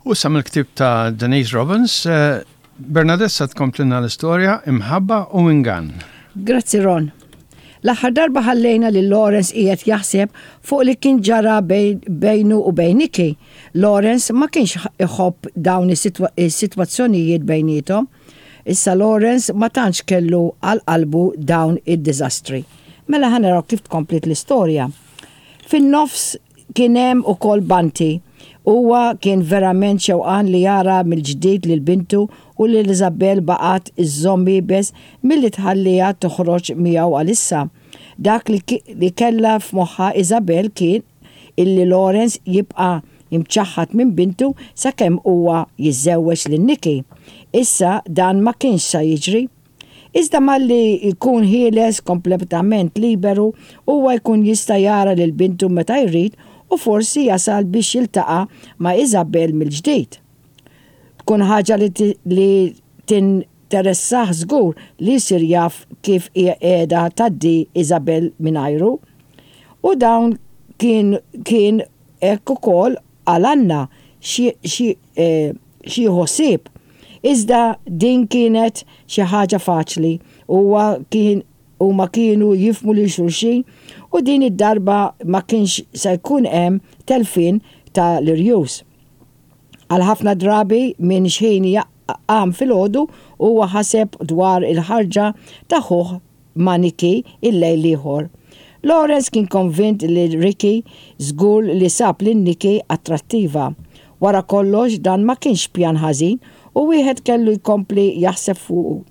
U issa mill-ktieb ta' Denise Robbins, Bernadette sa tkomplilna l-istorja Imħabba u Ingann. Grazzi Ron. L-aħħar darba ħallejna lil Lawrence qiegħed jaħseb fuq li kien ġara bejnu u bejn Nikki. Lawrence ma kienx iħobb dawn is-sitwazzjonijiet bejniethom. Issa Lawrence ma tantx kellu għal qalbu dawn id-diżastri. Mela ħa naraw kif tkompliet l-istorja. Fin-nofs Kien hemm ukoll Bunty. Huwa kien verament xewqan li jara mill-ġdid lil bintu u lil Isabelle baqgħet iżżomm iebes milli tħalliha toħroġ miegħu għalissa. Dak li kellha f'moħħha Isabelle kien illi Lawrence jibqa' imċaħħad minn bintu sakemm huwa jiżżewweġ lil Nikki. Issa dan ma kienx sa jiġri. Iżda malli jkun ħieles kompletament liberu, huwa jkun jista' jara lil bintu meta jrid u forsi jasal biex jiltaqa' ma' Isabel mill-ġdid. Tkun ħaġa li tinteressah żgur li jsir jaf kif qiegħda tgħaddi Isabel mingħajru. U dawn kien kien hekk ukoll għal Anna xi x'jieħu ħsieb. Iżda din kienet xi ħaġa faċli, huwa kien huma kienu jifhmu lil xulxin u din id-darba ma kienx se jkun hemm telfien ta' l-irjus. Għal ħafna drabi minn x'ħin qam filgħodu huwa ħaseb dwar il-ħarġa ta' ħuh ma' Nikki il-lejl l-ieħor. Lawrence kien konvint li Ricky żgur li sab lil Nikki attrattiva. Wara kollox dan ma kienx pjan ħażin u wieħed kellu jkompli jaħseb fuqu.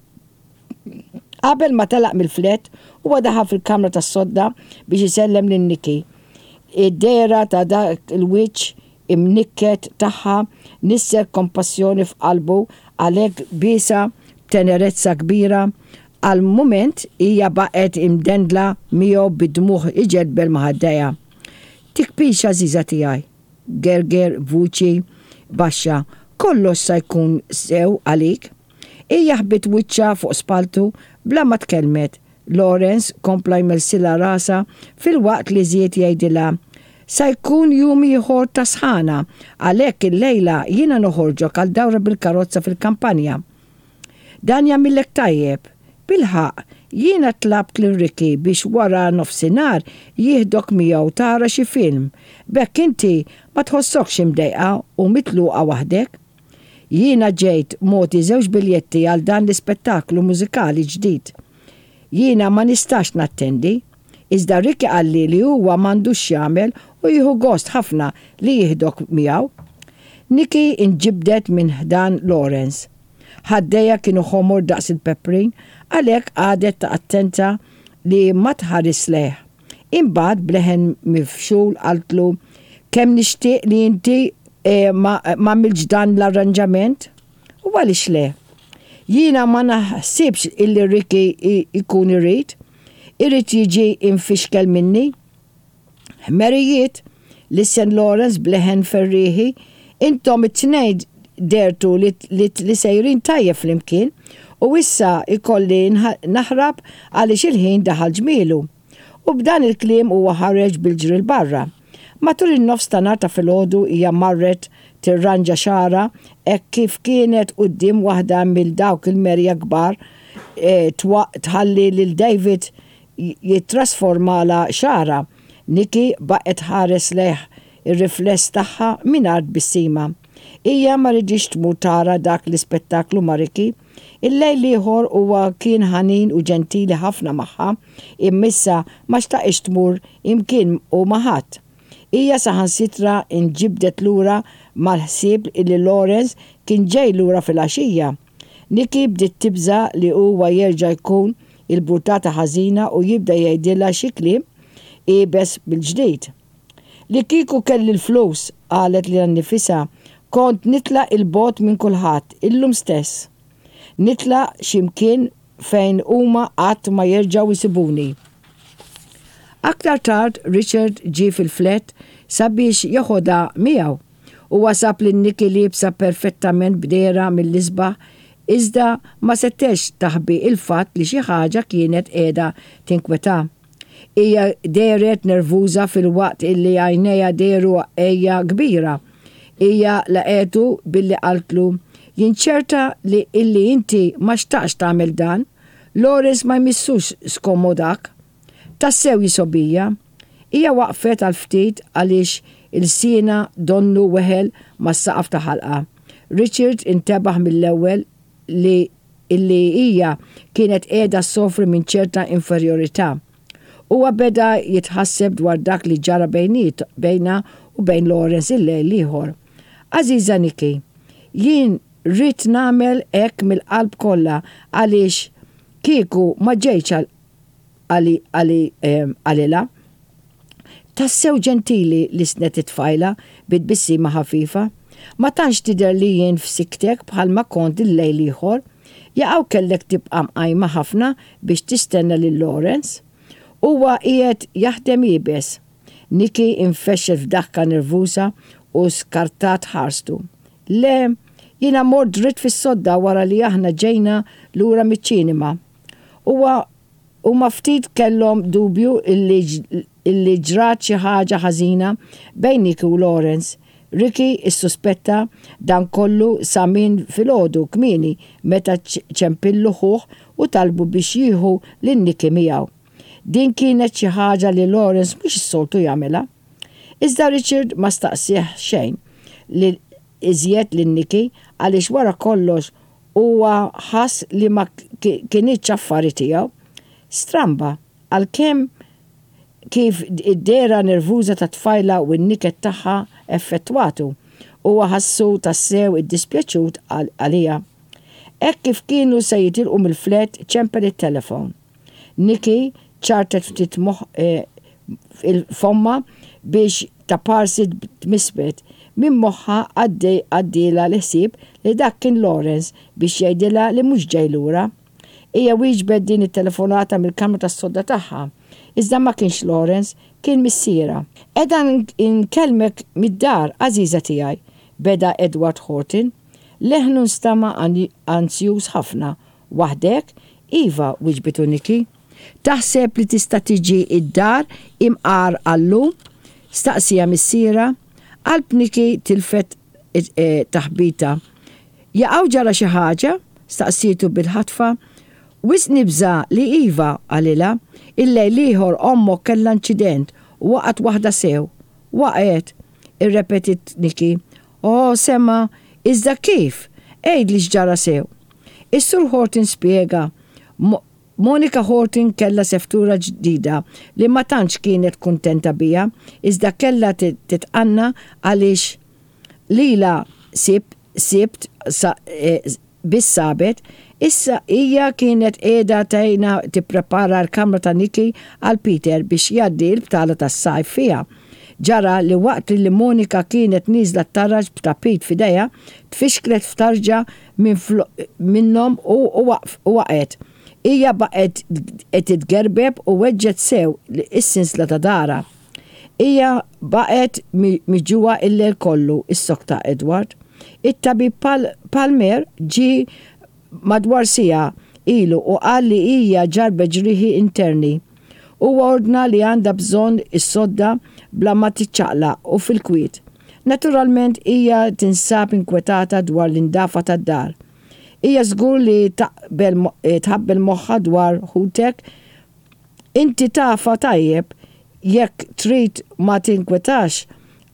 Qabel ma telaq mill-flat, huwa daħal fil-kamra tas-sodda biex isellem lil Nikki. Id-dehra ta' dak il-wiċċ imnikket tagħha nissel kompassjoni f'qalbu għalhekk biesha b'tenerezza kbira. Għal mument hija baqgħet imdendla miegħu bid-dmugħ iġedbel ma' ħaddejha. Tikbix għażiża tiegħi, gerger b'vuċi baxxa, kollox sa jkun sew għalik. Hija ħbiet wiċċha fuq spalltu bla ma tkellmet. Lawrence kompla jmellsilha rasha filwaqt li żied jgħidilha, Sa jkun jum ieħor ta' sħana, għalhekk illejla jiena noħorġok għal dawra bil-karozza fil-kampanja. Dan jagħmillek tajjeb. Bilħaqq, jiena tlabt lil Ricky biex wara nofsinhar jieħdok miegħu tara xi film, b'hekk inti ma tħossokx imdejqa u mitluqa waħdek. Jiena ġejt mogħti żewġ biljetti għal dan l-ispettaklu mużikali ġdid. Jiena ma nistax nattendi, iżda Ricky qalli li huwa m'għandux x'jagħmel u jieħu gost ħafna li jieħdok miegħu. Nikki nġibdet minn ħdan Lawrence. Ħaddejha kienu ħomor daqs il-peprin, għalhekk qagħdet attenta li ma tħarisx lejh. Imbagħad b'leħen mifxul qaltlu, Kemm nixtieq li inti ma għamiltx dan l-arranġament. U għaliex le? Jiena ma naħsibx illi Ricky jkun irid. Irid jiġi imfixkel minni. Ħmerijiet, lissen Lawrence b'leħen ferrieħi, intom it-tnejn dhertu li sejrin tajjeb flimkien u issa jkolli naħrab għaliex il-ħin daħal ġmielu. U b'dan il-kliem huwa ħareġ bil-ġri 'l barra. Matul in-nofs ta' nhar ta' filgħodu hija marret tirranġa xagħarha hekk kif kienet quddiem waħda mill dawk il-merja kbar tħalli lil David jittrasformalha xagħarha. Nikki baqgħet tħares lejh ir-rifless tagħha mingħajr tbissima. Hija ma riditx tmur tara dak l-ispettaklu ma' Ricky. Il-lejl l-ieħor huwa kien ħanin u ġentili ħafna magħha, imma issa ma xtaqitx tmur imkien u ma' ħadd. Hija saħansitra nġibdet lura mal-ħsieb illi Lawrence kien ġej lura filgħaxija. Nikki bdiet tibża' li huwa jerġa' jkun il-burtata ħażina u jibda jgħidilha xi kliem iebes mill-ġdid. Li kieku kelli l-flus, qalet lilha nnifisha, kont nitlaq 'il bogħod minn kulħadd, illum stess. Nitlaq xi mkien fejn huma qatt ma jerġgħu jsibuni. Aktar tard Richard ġie fil-flat sabiex jeħodha miegħu. Huwa sab lil Nikki liebsa perfettament b'dehra mill-isbaħ iżda ma setgħetx taħbi l-fatt li xi ħaġa kienet qiegħda tinkwetha. Hija dehret nervuża filwaqt illi għajnejha dehru għejja kbira. Hija laqgħetu billi qaltlu, Jien ċerta li illi inti ma xtaqtx tagħmel dan. Lawrence ma jmissux skommodak. Tassew jisgħobija. Hija waqfet għal ftit għaliex ilsienha donnu weħel mas-saqaf ta' ħalqha. Richard intebaħ mill-ewwel li illi hija kienet qiegħda ssofri minn ċerta inferjorità. Huwa beda jitħasseb dwar dak li ġara bejniet bejnha u bejn Lawrence il-lejl l-ieħor. Għażiża Nikki, jien ridt nagħmel hekk mill-qalb kollha għaliex kieku ma ġejtx għal qalilha. Tassew ġentili, lissnet it-tfajla bi tbissima ħafifa. Ma tantx tidher li jien f'sikktek bħalma kont il-lejl l-ieħor. Jaqaw kellek tibqa' mqajma ħafna biex tistenna lil Lawrence? Huwa qiegħed jaħdem iebes. Nikki infexxet f'daħka nervuża u skartat ħarstu. Le, jiena mort dritt fis-sodda wara li aħna ġejna lura miċ-ċinema. Huwa Huma ftit kellhom dubju illi illi ġrat xi ħaġa ħażina bejn Nicky u Lawrence. Ricky issuspetta dan kollu sa minn filgħodu kmieni meta ċempillu ħuh u talbu biex jieħu lil Nicky miegħu. Din kienet xi ħaġa li Lawrence mhux is-soltu jagħmilha. Iżda Richard ma staqsieh xejn lil iżjed lil Nicky għaliex wara kollox Huwa ħass li ma kinitx affari tiegħu. Stramba, għalkemm kif id-dehra nervuża tat-tfajla u n-niket tagħha effettwatu, huwa ħassu tassew iddispjaċut għaliha. Hekk kif kienu se jitilqu mill-flat ċempel it-telefon. Nikki ċartet ftit fommha biex taparsi tmismet. Minn moħħha għaddielha l-ħsieb li dak kien Lawrence biex jgħidilha li mhux ġej lura. Hija wieġbet din it-telefonata mill-kamra tas-sodda tagħha. Iżda ma kienx Lawrence, kien missierha. Qiegħda nkellmek mid-dar, għażiża tiegħi, beda Edward Horton. Leħnu nstama' anzjuż ħafna Waħdek? Iva, wiġbitu Nikki. Taħseb li tista' tiġi d-dar imqar għal-lum? staqsieha missierha. Qalb Nikki tilfet taħbita. Jaqaw ġara xi ħaġa? staqsietu bil-ħatfa. Wisq nibża' li iva, qalilha. Il-lejl l-ieħor ommok kellha inċident u waqgħet waħda sew. Waqgħet? irrepetiet Nikki. Oh, sema', iżda kif? Għidli x'ġara sew. Is-Sur Horton spjega, Monica Horton kellha seftura ġdida li ma tantx kienet kuntenta biha, iżda kellha titqanna għaliex lilha sibt biss sabet. Issa hija kienet qiegħda tgħinha tipprepara l-kamra ta' Nikki għal Peter biex jgħaddi l-btala tas-sajf fiha. Ġara li waqt li Monica kienet nieżla t-taraġ b'tapit f'idejha, tfixklet f'tarġa minnhom u waqgħet. Hija baqgħet titgerbeb u weġġgħet sew is-sinsla ta' darha. Hija baqgħet miġugħa l-lejl kollu, issokta Edward. It-tabib Palmer ġie madwar siegħa ilu u qal li hija ġarrbet ġrieħi interni. Huwa ordna li għandha bżonn is-sodda bla ma tiċċaqlaq u fil-kwiet. Naturalment hija tinsab inkwetata dwar l-indafa tad-dar. Hija żgur li taqbel tħabbel moħħha dwar ħutek. Inti tafha tajjeb, jekk trid ma tinkwetax,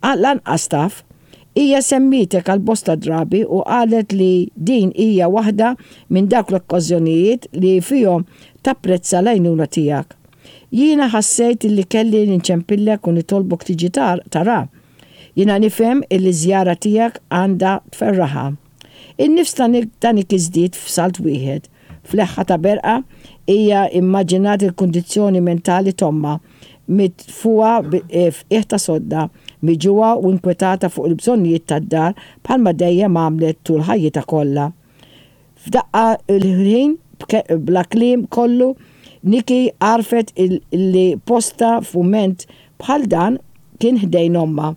lanqas taf. Hija semmietek għal bosta drabi u qalet li din hija waħda minn dawk l-okkażjonijiet li fihom tapprezza l-għajnuna tiegħek. Jiena ħassejt illi kelli nċempillek u nitolbok tiġi tara. Jiena nifhem illi ż-żjara tiegħek għandha tferraħha. In-nifs ta' Nikki żdied f'salt wieħed. F'leħħa ta' berqa, hija immaġinat il-kundizzjoni mentali t'ommha, mitfugħa f'qiegħ ta' sodda, miġugħa u inkwetata fuq il-bżonnijiet tad-dar bħalma dejjem għamlet tul ħajjitha kollha. F'daqqa l-ħin, bla kliem kollu, Nikki għarfet li postha f'mument bħal dan kien ħdejn ommha.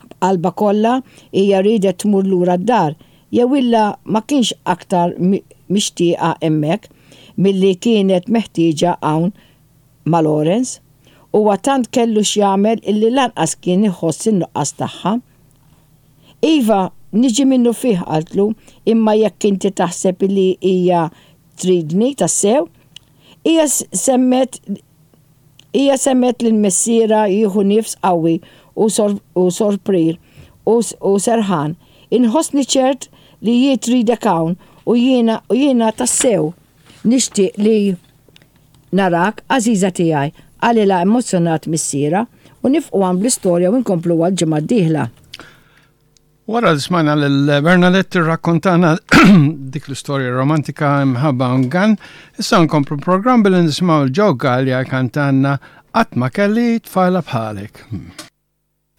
B'qalbha kollha hija riedet tmur lura d-dar, jew illa ma kienx aktar mixtieqa hemmhekk milli kienet meħtieġa hawn ma' Lawrence. Huwa tant kellu x'jagħmel illi lanqas kien iħoss in-nuqqas tagħha. Iva, niġi minnufih, qaltlu, imma jekk inti taħseb li hija tridni tassew. Hija semgħet hija semgħet lil missierha jieħu nifs qawwi u u sorprir u u serħan. Inħossni ċert li hi tridek hawn u jiena u jiena tassew nixtieq li narak, għażiża tiegħi, qalilha emozzjonat missierha, u nifqu hawn bl-istorja u nkompluha l-ġimgħa d-dieħla. Wara li smajna lil Bernadette tirrakkontana dik l-istorja romantika imħabba ungan, issa nkomplu programm billi nisimgħu l-Joe Gallia kantanna Qatt ma kelli tfajla bħalek.